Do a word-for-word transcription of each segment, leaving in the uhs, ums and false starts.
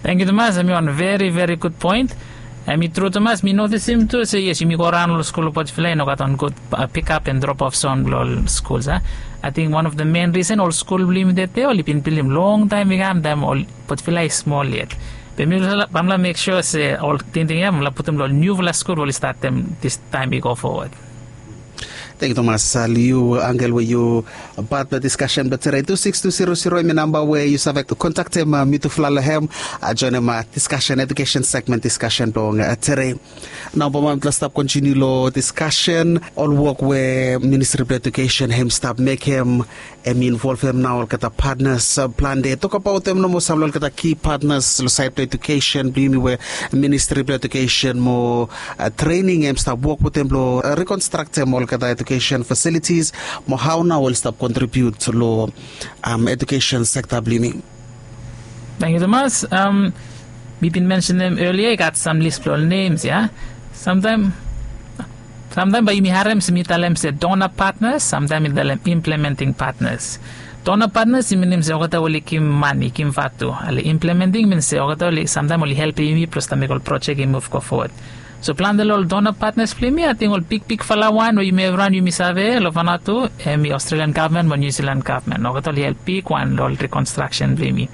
Tangkiu tumas, em i wan veri veri gud poen. Em i tru tumas, mi notisim tu se yes, yumi go raon long skul long Potifila i no gat wan gud pikap and drop of son long ol skul a. Ating wan of the main risen ol skul blong yumi dede oli bin bildim longtaem i kam taem ol Potifila i smol yet. Be mi bamla mek sua se ol tingting ya bamla putum long niufala skul oli statem dis taem i go fowod. Tangkiu tumas, liu angel we yu pat blong diskasen blong tere tu siks tu siro siro em i namba we yu save kontaktem mitufala long hem. Joenem diskasen edukesen segmen diskasen blong tere. Nao bambae mitufala stap kontiniu long diskasen ol wok we ministri blong edukesen hem stap mekem. Em i involvem nao olgeta patnas plante tokabaotem nomo sam long olgeta ki patnas long saed blong edukesen blong yumi we ministri blong edukesen mo trening em stap wok wetem blong rekonstraktem olgeta edukesen fasilitis mo hao nao oli stap kontribiut long edukesen sekta blong yumi. Tangkiu tumas. Mi bin mensenem elia i gat sam lis blong ol nems ya. Samtaem samtaem bae yumi harem se mi talem se dona patnas samtaem mi talem implementing patnas. Dona patnas i minim se olgeta oli givim mane givim vatu ale implementing min se olgeta oli samtaem oli helpem yumi blong stap mekem ol projek i muv go fowod. So plante long ol dona patnas blong yumi ating ol bigbigfala wan we yumi evriwan yumi save long fanatu em i australian gavman mo niusilan gavman olgeta oli help bigwan long ol rikonstraksen blong yumi.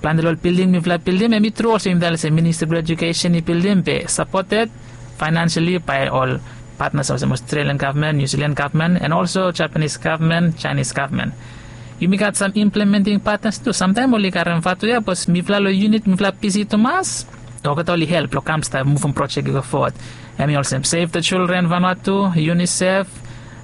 Plante long ol bilding mifala bildim em i tru olsem yumi talem se ministri blong edukesen i bildim be sapoted fainansali bae ol patnas olsem australian gavman niusilan gavman and olso japanis gavman jainis gavman. Yumi gat sam implementing patnas tu samtaem oli karem vatu ya bikos mifala long yunit mifala bisi tumas. Olgeta oli help long kam stap muvum projek i go fowod. Em i olsem save the children vanatu, unisef,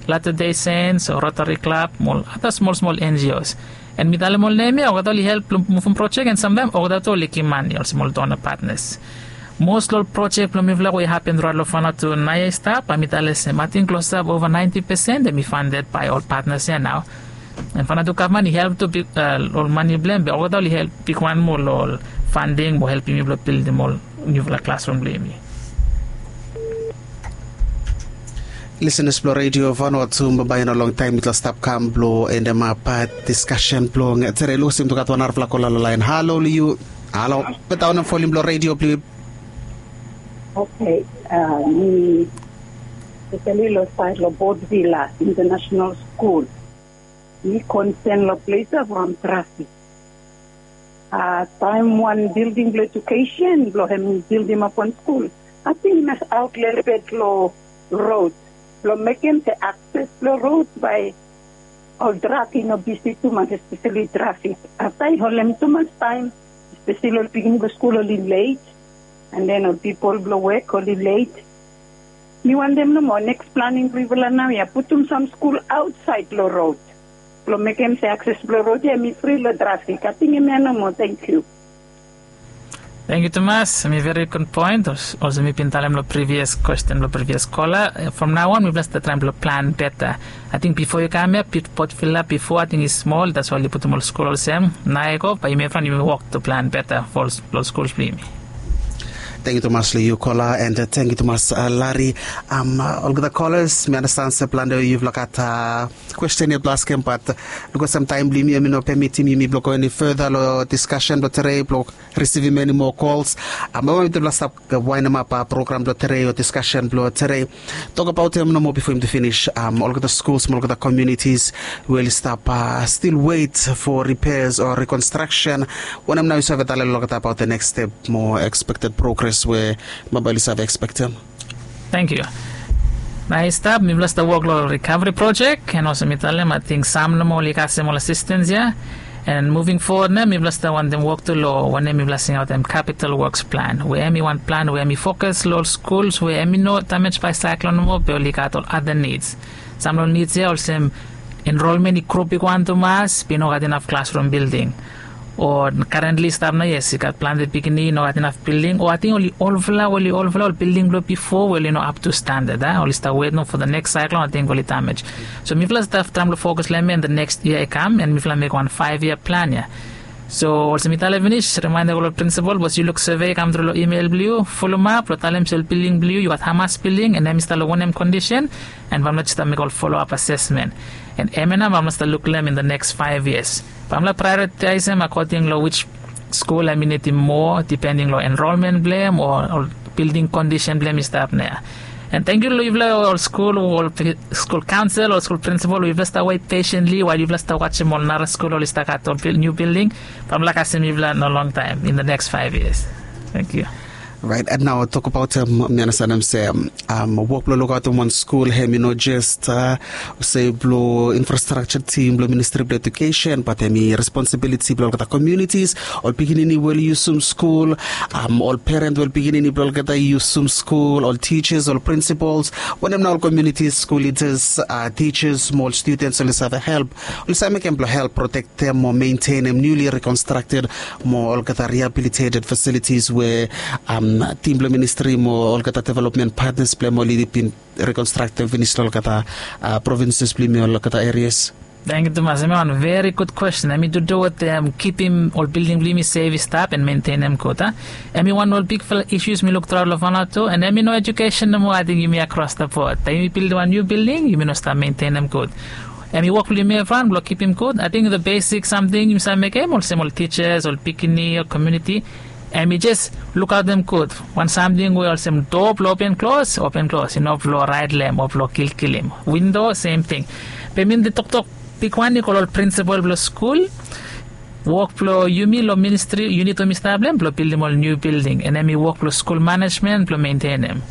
latter day saints o rotary club mo ol ada smol smol ngos. An mi talem ol nem ya olgeta oli help blong muvum projek an samtaem olgeta tu oli givim mane olsem ol dona patnas. Mos long ol projek blong mifala we i hapen raet long fanatu naoia i stap bae mi talem se mating klosap ova naenti pesen em i fandet bae ol patnas ya nao. An fanatu gavman i help tu ol mane blong em be olgeta oli help bigwan moa long ol fanding mo helpim yumi blong bildim ol niufala klasrum blong yumi. Lisenas blong redio vanua tu bambae i no longtaem mitla stap kam blong endemap diskasen blong tere lusim tu gat wan narafala kola long laen halo long yu. Halo. Beta onem folim blong redio blong yu. Oke. Mi spesali long saed long bodvila international skul. Mi konsen long ples ya from trafik. Taem wan bilding blong edukesen blong hem bildimap wan skul ating i mas aot lelebet long rod blong mekem se akses blong rod bae ol drak i no bisi tumas espeseli trafik. Afta i holem tumas taem espeseli ol pikinini blong skul oli let an den ol pipol blong wek oli let. Mi wantem nomo neks planing blong yufala nao ya putum sam skul aotsaed long rod blong mekem se akses blong rod ya em i fri long trafik ating em ya nomo. Tangkiu. Tangkiu tumas. Mi veri gud poen olsem mi bin talem long privias kwesten blong privias kola. From nao on mipela stap traem blong plan beta. Ating bifo yu kam ya potvila bifo ating i smol dats wai oli putum ol skul olsem. Nao i go bae yumi evriwan yumi wok tu plan beta fo ol skuls blong yumi. Tangkiu tumas long yu kola an tangkiu tumas lari. Olgeta kolas mi anastan se plante yufala gat kwesten yet blong askem bat lukaot samtaem blong yumi em i no pemitim yumi blong go eni feta long diskasen blong tere blong risivim eni moa kols. Bambae mitupela stap waenemap program blong tere o diskasen blong tere. Tokabautem nomo bifo yumi tu finis olgeta skuls mo olgeta komiunitis we oli stap stil wet fo ripeas o rikonstraksen. Wanem nao yu save talem long olgeta abaot the neks step mo ekspekted progres we bambae oli save ekspektem? Tangkiu. Nao i stap mipela stap wok long rikavri projek an olsem mi talem ating sam nomo oli kasem ol asistens ya. An muving fowod nao mipela stap wantem wok tu long wanem mipela singaotem kapital woks plan we em i wan plan we em i fokas long ol skuls we em i no damej bae saiklon nomo be oli gat ol ada nids. Sam long ol nids ya olsem enrolmen i gro bigwan tumas be i no gat inaf klasrum bilding. O karentli i stap nao yes i gat plante pikinini i no gat inaf bilding o ating oli olfala oli olfala ol bilding blong bifo we oli no aptu standad a oli stap wet nao fo the neks saiklon ating oli damej. So mipela stap traem long fokas long em ya in the neks yia i kam an mipela mekem wan faev yia plan ya. So olsem mi talem finis rimaenda go long prinsipol bikos yu luk seve i kamtru long imel blong yu fulumap long talem se ol bilding blong yu yu gat hamas bilding an em i stap long wanem kondisen. An bamla jes stap mekem ol foloap asesmen an em ya nao bamla stap luk long em in the neks faev yias. Bamla praeoritaesem akoding long wis Skul em i nidim moa dipending long enrolmen blong em o ol bilding kondisen blong em i stap nea. And thank you long yufala ol skul ol skul kaunsil ol skul prinsipal yufala stap wet pesientli wael yufala stap wasim ol nara skul ol i stap gat ol niu bilding. Bamla kasem yufala no long taim in the next five years. Thank you. Right, and now talk about um, mi understand him say um, um, work blo look out in one school him you know just uh, say blo infrastructure team blo ministry blo education but him responsibility blo olgeta communities ol pikinini wel yusum school um, ol parent wel pikinini blo olgeta yusum school ol teachers ol principals when him na ol communities school leaders uh, teachers mo ol students ol is have a help ol is make him blo help protect them mo maintain him newly reconstructed mo olgeta rehabilitated facilities where um, team blo ministry mo olgeta development partners blo him oli bin reconstruct them finish olgeta uh, provinces blo him olgeta areas. Thank you tumas. Em i wan very good question. Em i to do with um, keeping ol building blo him safe stop and maintain them good. Huh? Em i wan ol big fella issues mi look throughout lo Vanuatu and em i no education no more. I think yumi across the board. Taim yumi build wan new building, yumi no stop maintain them good. Em i work blo yumi everyone blo keep him good. I think the basic something yumi sa mekem olsem ol teachers, ol pikinini, ol community. Em i just look out them good. Wan something we olsem door blo open close, open close. You know blo right lem or blo kill kill him. Window same thing. Be min the tok tok big one i call ol principal blo school. Work blo yumi lo ministry unit o mi stap blem blo buildim ol new building and em i work blo school management blo maintain em.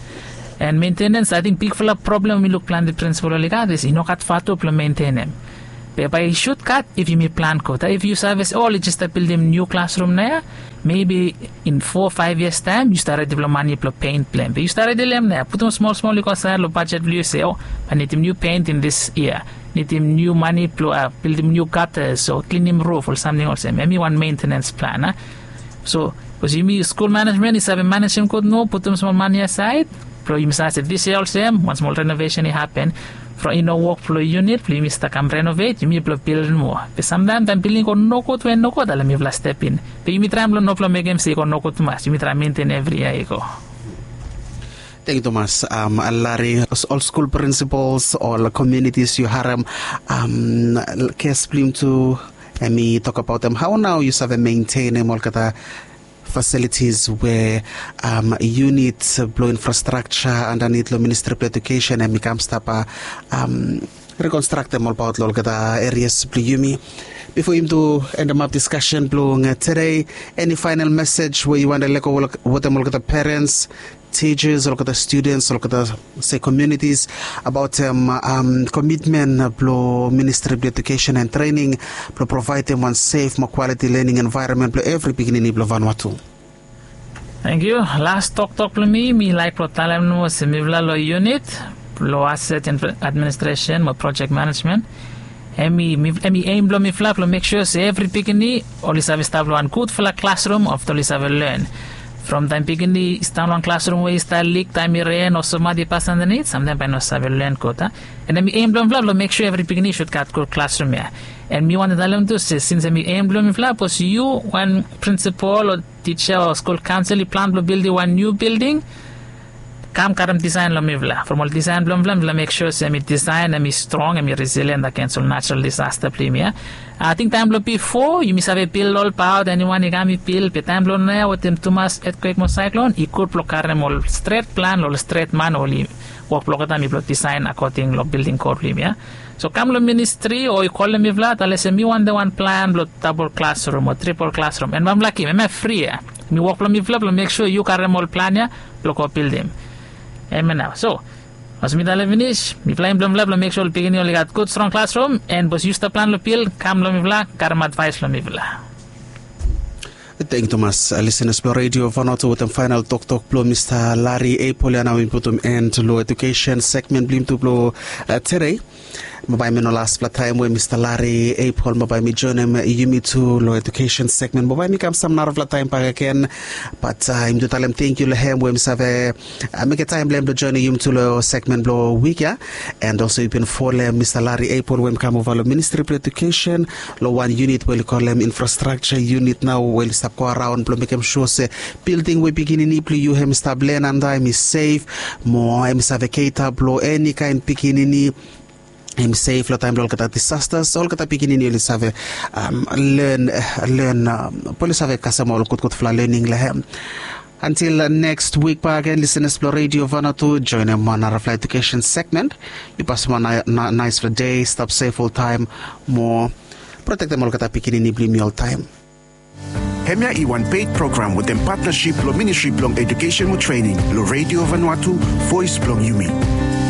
And maintenance I think big fala problem mi look planti principal oli gat is i no gat fatu blo maintain em. Be bai i should gat if yumi plan good. If yu save se oli just start buildim new classroom na ya, maybe in four five years time yu start ready blo money blo paint blem. Be yu start ready lem na ya, putum small small yu go side lo budget blo yu se, oh, I need him new paint in this year. Nidim niu mani blong bildim niu gatas o klinim ruf ol samting olsem em i wan mentenens plan a. So bikos yumi skul manejmen i save manejem gud no putum smol mani asaed blong yumi save se dis yia olsem wan smol renovesen i hapen from i no wok blong yunit blong yumi stap kam renovet yumi blong bildim moa. Be samtaem taem bilding i go nogud we nogud ale mifala step in be yumi traem blong no blong mekem se i go nogud tumas yumi traem menten evri yia i go. Teng yu tumas. Lari, ol skul prinsipals ol komunitis yu harem kes blong yum tu em i tok abaot em hao nao yu save mentenem olgeta fasilitis we yunit blong infrastrakja andanit long ministri blong edukesen em i kam stap rekonstraktem olbaot long olgeta erias blong yumi. Bifo yumi tu endemap diskasen blong tede, eni faenal mesej we yu wante lego wetem olgeta perens, tijas olgeta studens olgeta se komunitis abaotem komitmen blong ministri blong edukesen en trening blong provaedem wan sef mo kwaliti lening envaeronmen blong evri pikinini blong vanua tu. Tangkiu. Las toktok blong mi mi laik blong talem nomo olsem mifala long yunit blong aset administresen mo projek manejmen, em i em i em blong mifala blong mek sua se evri pikinini oli save stap long wan gudfala klasrum afta oli save len. From taem pikinini i stap long wan klasrum we i stap lik taem i ren o somat i pas andanit samtaem bae i no save len gud a. En em i em blong mifala blong mek sua evri pikinini i sud gat gud klasrum ya. En mi wantem talem tu se sins em i em blong mifala bikos yu wan prinsipol o tija o skul kaonsel i plan blong bildim wan niu bilding, kam karem disaen long mifala from ol disaen blong mifala mifala mek sua se em i disaen em i strong em i resilien agens ol natural disasta blong yumi ya. Ating taem blong bifo yumi save bil olbaot eniwan i kam i bil be taem blong nao wetem tumas etkwek mo saeklon i gud blong karem ol stret plan long ol stret man oli wok blong olgeta mi blong disaen akoding long bilding kod blong yumi ya. So kam long ministri o i kolem mifala talem se mi wantem wan plan blong dabol klasrum o tripol klasrum en bamlakim em ya fri ya. Mi wok blong mifala blong mek sua yu karem ol plan ya blong go bildim. Em ya nao so mas mi talem finis mifala em blong mifala blong mek sua ol pikinini oli gat gud strong klasrum en bos yu stap plan long bil kam long mifala karem advaes long mifala. Teng tumas lisenas blong redio vanoto wetem faenal toktok blong mista lari eipol ya nao mi putum en long edukesen segmen blong yumi tu blong tede. Babae mi no laspela taem we mista lari eipol babae mi joinim yumi tu long edukesen segmen babae mi kam sam narafela taem bakegen. Bat yumi tu talem tengkiu long hem we mi save mekem taem blong hem blong joinim yumi tu long segmen blong wik ya. And olso yu bin folem mista lari eipol we mi kam ova long ministri blong edukesen long wan yunit we oli kolem infrastrakja yunit nao we oli stap go araon blong mekem sua se bilding we pikinini blong yu hem i stap len antap hem i sef mo hem i save keita blong eni kaen pikinini. Hem i sef long taem blong olgeta disasters olgeta pikinini oli save len len, oli save kasem ol gudgudfala lening long hem. Antil neks wik bagen lisenas blong redio vana tu joenem wan narafala edukesen segmen. Yu pasim wan naesfala dei stap sef oltaem, mo protektem olgeta pikinini blong yumi oltaem. Hemia i wan peit program wetem patnasip long ministri blong edukesen mo trening long redio vanua tu, vois blong yumi.